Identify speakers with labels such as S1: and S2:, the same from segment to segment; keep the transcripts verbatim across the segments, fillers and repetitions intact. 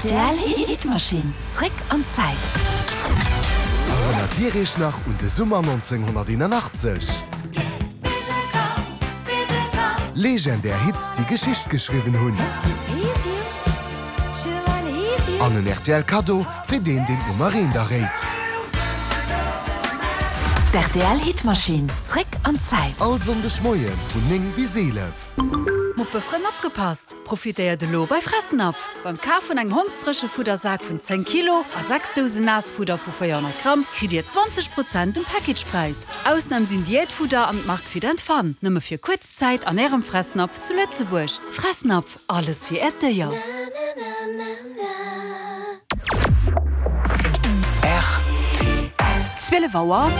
S1: Rtl Hitmaschinn, zréck an d'Zäit.
S2: Erënnert Dir Iech nach un de Summer nonzénghonnerteenanachtzeg? Legendär Hits, déi Geschicht geschriwwen hunn. An en rtl Kaddo fir deen, deen d'Nummer eent erréit.
S1: D'RTL Hitmaschinn, zréck an d'Zäit.
S2: All Sonndeg Moie vun néng bis eelef.
S3: Muppefrënn opgepasst! Profitéiert elo bei Fressnapf! Beim Kaf vun engem Hondsdréchefuddersak vun zéng Kilo a sechs Dousen Naassfudder vu véierhonnert Gramm kritt Dir zwanzeg Prozent um Packagepräis. Ausnam sinn Diätfudder an d'Mark Fit and Fun. Nëmme fir kuerz Zäit an Ärem Fressnapf zu Lëtzebuerg. Fressnapf, alles fir Äert Déier.
S4: Zwielef Auer.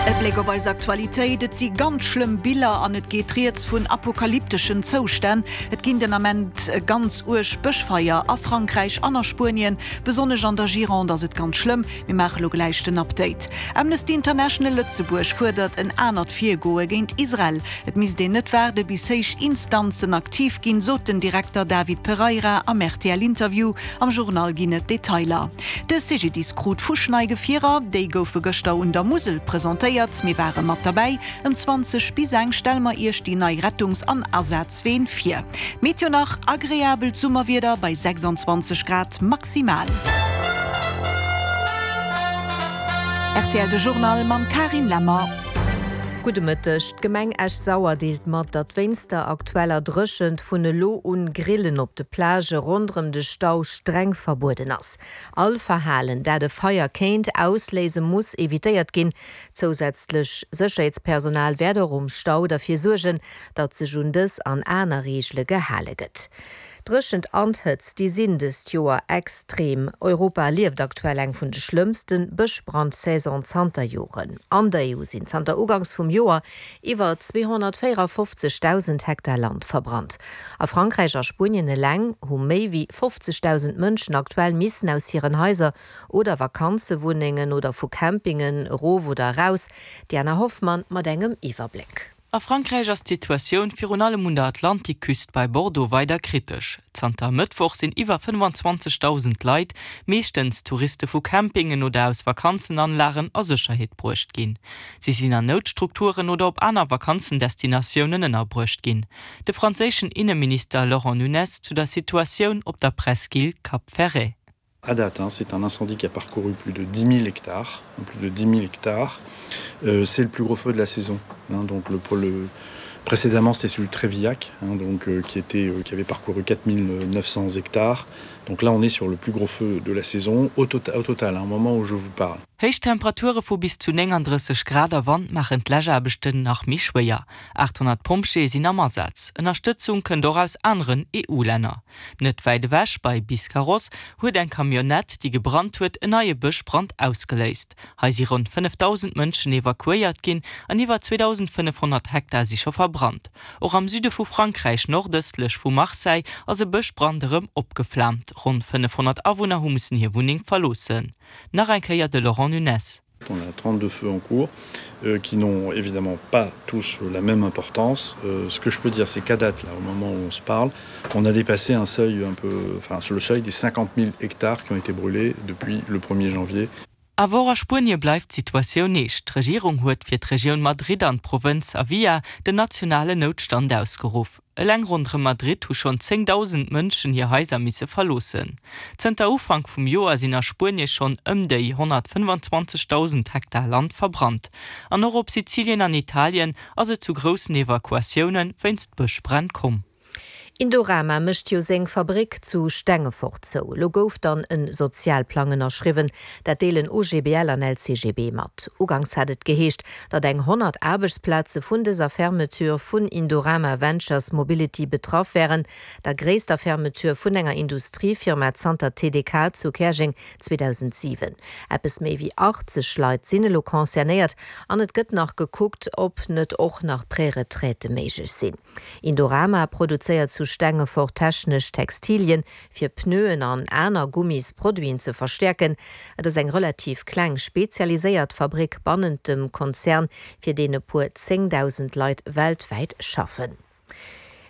S4: E Bléck op eis Aktualitéit, Et si ganz schlëmm Biller an et geet rieds vun apokalypteschen Zoustänn. Et ginn den Ament ganz uerg Bëschfeier a Frankräich an a Spuenien. Besonnesch an der Gironde ass et ganz schlëmm. Mir maache lo gläich den Update. Amnesty International Lëtzebuerg fuerdert en anert Virgoe géint Israel. Et misst een net waarde bis héich Instanzen aktiv ginn, sot den Direkter David Pereira am R T L-Interview. Am Journal ginn et Detailer. De C G D I S krut fuschnei Gefierer, déi goufe gëschter un der Musel presentéiert. Mir ware mat derbäi. Ëm zwanzeg bis eng stelle mer Iech déi nei Rettungs- an Asazween vir. Meteo nach: agreabelt Summerwieder bei sechsanzwanzeg Grad maximal. R T L de Journal mam Karin Lemmer.
S5: Gudde Mëtteg. D'Gemeng Esch-Sauer deelt mat, datt wéinst der aktueller Dréchent vun elo un Grillen op de Plagë ronderëm de Stau streng verbueden ass. All Verhalen, dat e Feier kéint ausléise, muss evitéiert ginn. Zousätzlech Sécherheetspersonal wäert och um Stau derfir suergen, datt sech un dës an aner Reegele gehale gëtt. Dréchent an Hëtzt, déi sinn dëst Joer extrem. Europa erlieft aktuell eng vun de schlëmmste Bëschbrandsaison zanter Joren. An der E U sinn zanter Uganks vum Joer iwwer zweehonnertvéierefofzegdausend Hektar Land verbrannt. A Frankräich a Spuenien eleng hu méi wéi fofzegdausend Mënschen aktuell missen aus hiren Haiser oder Vakanzewunnengen oder vu Campingen erof oder eraus. Diana Hoffmann mat engem Iwwerbléck.
S6: A Frankräich ass d'Situatioun virun allem un der Atlantikküst bei Bordeaux weider kritesch. Zanter Mëttwoch sinn iwwer fënnefenzwanzegdausend Leit, meeschtens Touriste vu Campingen oder aus Vakanzenanlagen, a Sécherheet bruecht ginn. Si sinn an Noutstrukturen oder op aner Vakanzendestinatiounen ënnerbruecht ginn. De franséischen Inneminister Laurent Nunez zu der Situatioun op der Presqu'île Cap Ferret.
S7: À date, hein, c'est un incendie qui a parcouru plus de dix mille hectares, plus de dix mille hectares. Euh, c'est le plus gros feu de la saison. Hein, donc le, le, précédemment, c'était celui de Trévillac, hein, donc, euh, qui, était, euh, qui avait parcouru quatre mille neuf cents hectares. Donc là, on est sur le plus gros feu de la saison au, tota-, au total, hein, au moment où je vous parle.
S6: Héich Temperature vu bis zu nénganddrësseg Grad a Wand maachen d'Läschaarbechten nach méi schwéier. aathonnert Pompjeeë sinn am Asaz. Ënnerstëtzung kënnt och aus aneren E U-Länner. Net wäit ewech bei Biscarrosse huet eng Camionnette, déi gebrannt huet, en neie Bëschbrand ausgeléist. Hei si ronn fënnefdausend Mënschen evakuéiert ginn an iwwer zweedausendfënnefhonnert Hektar si scho verbrannt. Och am Süde vu Frankräich, nordëstlech vu Marseille, ass e Bëschbrand erëm opgeflaamt. Ronn fënnefhonnert Awunner hu missen hir Wunneng verloossen. Nach eng Kéier de Laurent Nunez.
S7: On a trente-deux feux en cours euh, qui n'ont évidemment pas tous la même importance. Euh, ce que je peux dire, c'est qu'à date, là, au moment où on se parle, on a dépassé un seuil un peu, enfin, le seuil des cinquante mille hectares qui ont été brûlés depuis le premier janvier.
S6: Awer och a Spuenie bleift d'Situatioun eescht. D'Regierung huet fir d'Regioun Madrid an d'Provënz Avia den nationalen Noutstand ausgeruff. Eleng ronderëm Madrid hu schonn zéngdausend Mënschen hir Haiser misse verloossen. Zënter Ufank vum Joer sinn a Spuenie schonn ëm déi honnertfënnefenzwanzegdausend Hektar Land verbrannt. An och op Sizilien an Italien ass et zu groussen Evakuatioune wéinst Bëschbränn komm.
S5: Indorama mécht jo seng Fabrik zu Stengefort zou. Lo gouf dann en Sozialplang ënnerschriwwen, dat deelen O G B L an L C G B mat. Uganks hat et geheescht, datt eng honnert Aarbechtsplaze vun dëser Fermeture vun Indorama Ventures Mobility betraff wären, der gréisster Fermeture vun enger Industriefirma zanter T D K zu Käerjeng zweedausentsiwen. Eppes méi wéi achtzeg Leit sinn elo concernéiert an et gëtt nach gekuckt, ob net och nach Préretraite méiglech sinn. Indorama produzéiert zu Stengefort technesch Textilien fir Pneuen an aner Gummisproduiten ze verstäerken. Et ass eng relativ kleng spezialiséiert Fabrik bannent dem Konzern, fir deen e puer zéngdausend Leit weltwäit schaffen.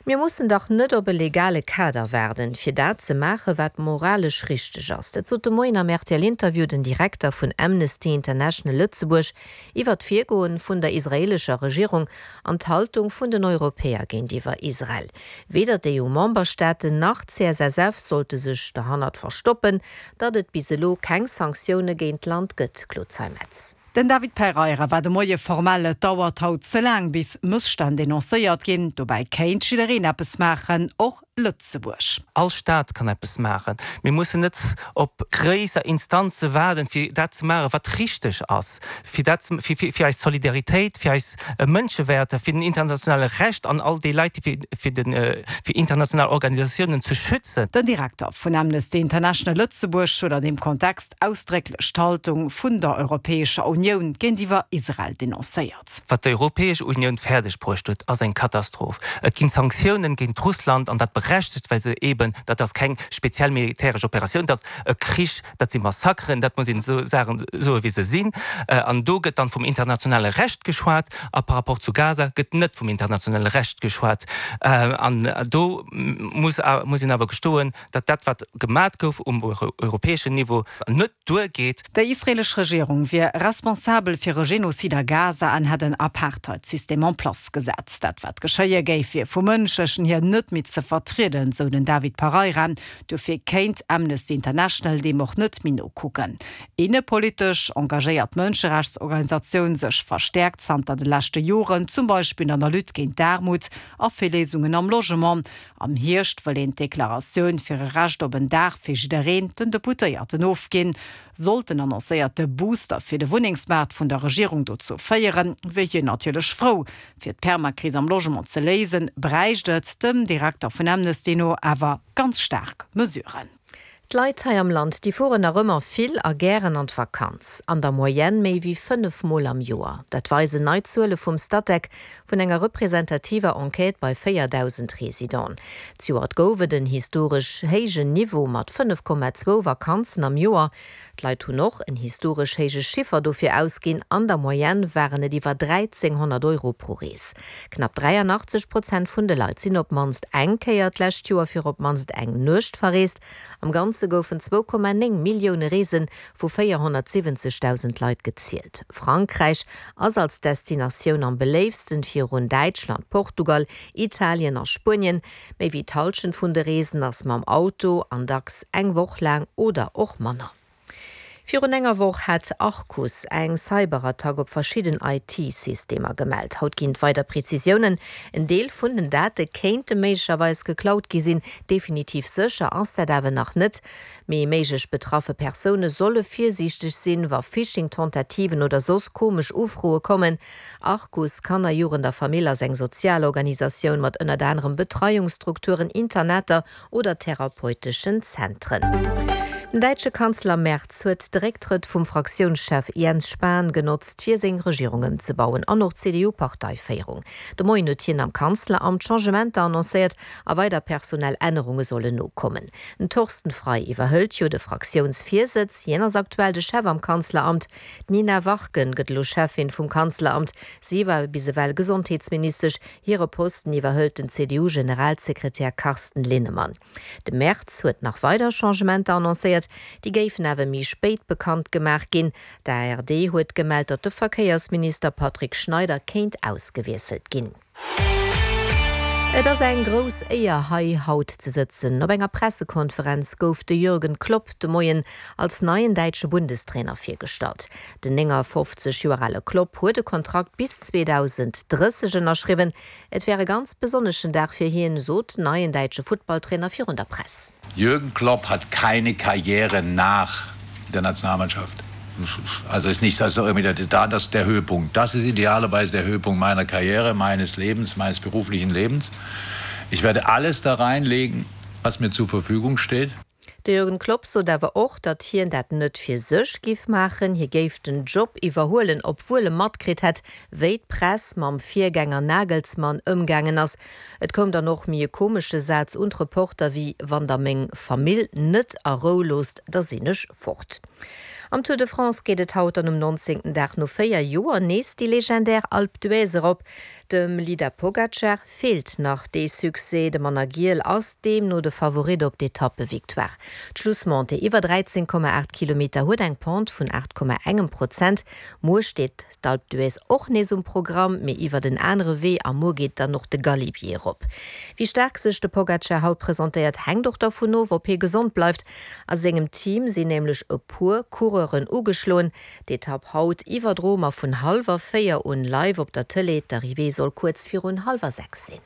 S5: Mir mussen dach net op e legale Kader waarden, fir dat ze maachen, wat moralesch richteg ass. Dat sot de Moien am R T L-Interview den Direkter vun Amnesty International Lëtzebuerg iwwer d'Virgoen vun der israeelescher Regierung an d'Haltung vun den Europäer géintiwwer Israel. Weder d'E U-Memberstaaten nach d'C S S F sollte sech derhannert verstoppen, datt et bis elo keng Sanktioune géint d'Land gëtt, Claude Zeimetz.
S8: Den David Pereira war de Moie formell. Et dauert haut ze laang, bis Mësstänn denoncéiert ginn, dobäi kéint jiddereen eppes maachen, och Lëtzebuerg.
S9: All Staat kann eppes maachen. Mir mussen net op gréisser Instanze waarden, fir dat ze maachen, wat richteg ass, fir dat fir, fir, fir eis Solidaritéit, fir eis äh, Mënschewäerter, fir den internationale Recht an all déi Leit, fir, fir, den, äh, fir international Organisatiounen ze schützen.
S8: Den Direkter vun Amnesty International Lëtzebuerg huet an deem Kontext ausdrécklech d'Haltung vun der Europäescher Unioun géintiwwer Israel denoncéiert.
S9: Wat d'Europäesch Unioun fäerdeg bruecht huet, ass eng Katastroph. Et ginn Sanktiounen géint Russland an dat berechtegt, well se eben, dat ass keng speziell militäresch Operatioun, dat ass e Krich, dat si Massakeren, dat muss een sou soen, sou wéi se sinn. Äh, an do gëtt dann vum internationale Recht geschwat, a par rapport zu Gaza gëtt net vum internationale Recht geschwat. Äh, an do muss, muss een awer gestoen, datt dat wat gemaach gouf um europäeschen Niveau net duergeet.
S8: Déi israeelesch Regierung wier responsabel fir e Genozid a Gaza an hätt en Apartheidsystem en place gesat. Dat wat geschéie géif, wier vum Mënschlechen hier net méi ze vertrieden, sou den David Pereira. Dofir kéint Amnesty International deem och net méi nokucken. Innepolitesch engagéiert d'Mënscherechtsorganisatioun sech verstäerkt zanter de leschte Joren, zum Beispill an der Lutte géint d'Aarmut a fir Léisungen am Logement. Am Hierscht wëll een d'Deklaratioun fir e Recht op en Daach fir jiddereen den Deputéierten ofginn. Sollt den annoncéierte Booster fir de Wunnengsmaart vun der Regierung dozou féieren, wier hien natierlech frou. Fir d'Permakris am Logement ze léisen, bräicht et dem Direkter vun Amnesty no awer ganz staark Mesuren.
S5: D'Leit hei am Land, déi fueren nach ëmmer vill a gären an d'Vakanz. An der Moyenne méi wéi fënnef Mol am Joer. Dat weisen nei Zuele vum Statec vun enger representativer Enquête bei véierdausend Residenten. Zejoert gouf et en historesch héijen Niveau mat fënnef Komma zwou Vakanzen am Joer. D'Leit hunn och en historesch héije Chiffer dofir ausginn, an der Moyenne waren et iwwer dräizénghonnert Euro pro Rees. Knapp dräianachtzeg Prozent vun de Leit sinn op d'mannst eng Kéier d'lescht Joer fir op d'mannst eng Nuecht verreest. Am Ganze goufen zwou Komma néng Millioune Reese vu véierhonnertsiwwenzegdausend Leit gezielt. Frankräich ass als Destinatioun am beléiftsten, virun Däitschland, Portugal, Italien a Spuenien. Méi wéi d'Hallschent vun de Reesen ass mam Auto an dacks eng Woch laang oder och manner. Virun enger Woch hat Arcus eng Cyberattack op verschidden I T-Systemer gemellt. Haut ginn et weider Prezisiounen. En Deel vun den Date kéinte méiglecherweis geklaut gi sinn, definitiv sécher ass dat awer nach net. Mee méiglech betraffe Persoune solle virsiichteg sinn, wa Phishing-Tentativen oder soss komesch Ufroe kommen. Arcus Kanner, Jugend a Famill ass eng Sozialorganisatioun mat ënnert anerem Betreiungsstrukturen, Internater oder therapeuteschen Zentren. Den däitsche Kanzler Merz huet de Récktrëtt vum Fraktiounschef Jens Spahn genotzt, fir seng Regierung ëmzebauen an och d'C D U-Parteiféierung. De Moien huet hien am Kanzleramt Changementer annoncéiert a weider personell Ännerunge sollen nokommen. Den Thorsten Frei iwwerhëlt jo de Fraktiounsvirsëtz, hien ass aktuell de Chef am Kanzleramt. D'Nina Warken gëtt elo Cheffin vum Kanzleramt, si war bis ewell Gesondheetsministesch, hire Posten iwwerhëlt den C D U-Generalsekretär Carsten Linnemann. De Merz huet nach weider Changementer annoncéiert, déi géifen awer méi spéit bekannt gemaach ginn. D'A R D huet gemellt, datt de Verkéiersminister Patrick Schneider kéint ausgewiesselt ginn. Et ass eng grouss Éier hei haut ze sëtzen. Op enger Pressekonferenz gouf de Jürgen Klopp de Moien als neien däitsche Bundestrainer virgestallt. Den néngafofzeg Joer ale Klopp huet e Kontrakt bis zweedausend drësseg ënnerschriwwen. Et wär e ganz besonneschen Dag fir hien, sot den neien däitsche Futtballtrainer virun der Press.
S10: Jürgen Klopp hat keine Karriere nach der Nationalmannschaft. Also ist nicht das irgendwie der, das der Höhepunkt. Das ist idealerweise der Höhepunkt meiner Karriere, meines Lebens, meines beruflichen Lebens. Ich werde alles da reinlegen, was mir zur Verfügung steht.
S5: De Jürgen Klopp sot awer och, datt hien dat net fir sech géif maachen, hie géif den Job iwwerhuelen, obwuel e matkritt hätt, wéi d'Press mam Virgänger Nagelsmann ëmgaangen ass. Et koum dann och méi e komesche Saz un d'Reporter wéi wann der meng Famill net a Rou loosst, da sinn ech fort. Am Tour de France geet et haut dann um nonzéngten Dag no véier Joer nees déi legendär Alpe d'Huez erop. Dem Leader Pogacar feelt nach dee Succès, de Mann a Giel ass deemno de Favorit op d'Etappevictoire. D'Schlussmontée iwwer dräizéng Komma aacht Kilometer huet eng Pente vun aacht Komma engem Prozent. Muer steet d'Alpe d'Huez och nees um Programm, mee iwwert en anere Wee a muer geet dann och de Galibier erop. Wéi staark sech de Pogacar haut presentéiert, hänkt och dervun of, ob hie gesond bleift. A sengem Team sinn nämlech e puer Coureuren ugeschloen. D'Etapp haut iwwerdroe mer vun hallwer véier un live op der Tëlee. D'Arrivée soll kuerz virun hallwer sechs sinn.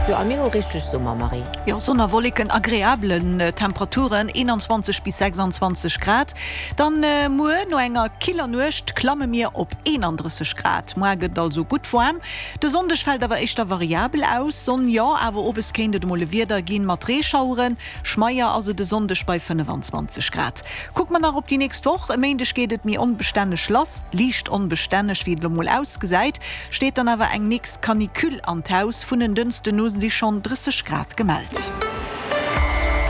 S5: Jo, a mir hu richteg Summer, Marie.
S4: Jo, Sonn a Wolleken, agreabelen Temperaturen, eenanzwanzeg bis sechsanzwanzeg Grad. Dann muer, no enger killer Nuecht, klamme mir op eenandrësseg Grad. Moar gëtt et also gutt waarm. De Sonndeg fält awer éischter variabel aus, Sonn jo, awer owes kéint et emol e Wieder ginn mat Reeschaueren. Schmeier ass et e Sonndeg bei fënnefanzwanzeg Grad. Kucke mer nach op déi nächst Woch, E Méindeg geet et méi onbestänneg lass, liicht onbestänneg wéi et elo mol ausgesäit, steet dann awer eng nächst Canicule an d'Haus. Vun en Dënschden u si schonn drësseg Grad gemellt.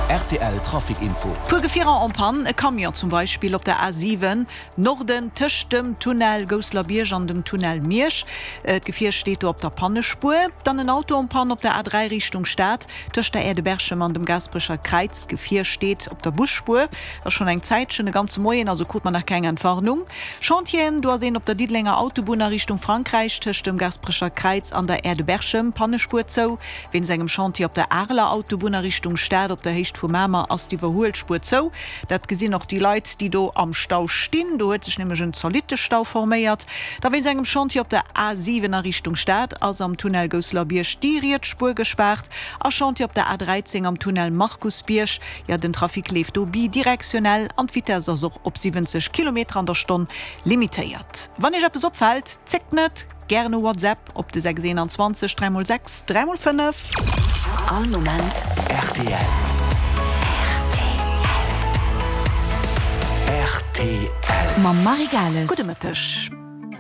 S11: Rtl Trafic Info.
S4: Puer Gefierer en panne, e Camion zum Beispill op der A siwen, Norden, tëscht dem Tunnel Gousselerbierg an dem Tunnel Miersch. D'Gefier steet do op der Pannespuer. Dann en Auto en panne op der A dräi Richtung Stad, tëscht der Aire de Berchem an dem Gaasperecher Kräiz. D'Gefier steet op der Busspuer, ass schonn eng Zäitchen, e ganze Moien, also krut mer nach keng Entwarnung. Chantieren, do ass een op der Diddelenger Autobunn a Richtung Frankräich tëscht dem Gasperecher Kräiz an der Aire de Berchem, Pannespuer zou. Wéinst engem Chantier op der Areler Autobunn a Richtung Stad op der Héicht vu Mamer ass d'Iwwerhuelspuer zou. Dat gesinn och déi Leit, déi do am Stau stinn. Do huet sech nämlech en zolitte Stau forméiert. Da wéinst engem Chantier op der A siwen a Richtung Stad ass am Tunnel Gousselerbierg déi riets Spuer gespaart. A Chantier op der A dräizéng am Tunnel Markusbierg, jo den Trafic leeft do bidirektionell an d'Vitess ass och op siwwenzeg Kilometer an der Stonn limitéiert. Wann Iech eppes opfält, zéckt net, gären e WhatsApp op de sechs eenanzwanzeg dräi mol sechs dräi mol fënnef.
S1: All Moment
S11: rtl. Rtl.
S1: Mam Marie Gales.
S4: Gudde Mëtteg.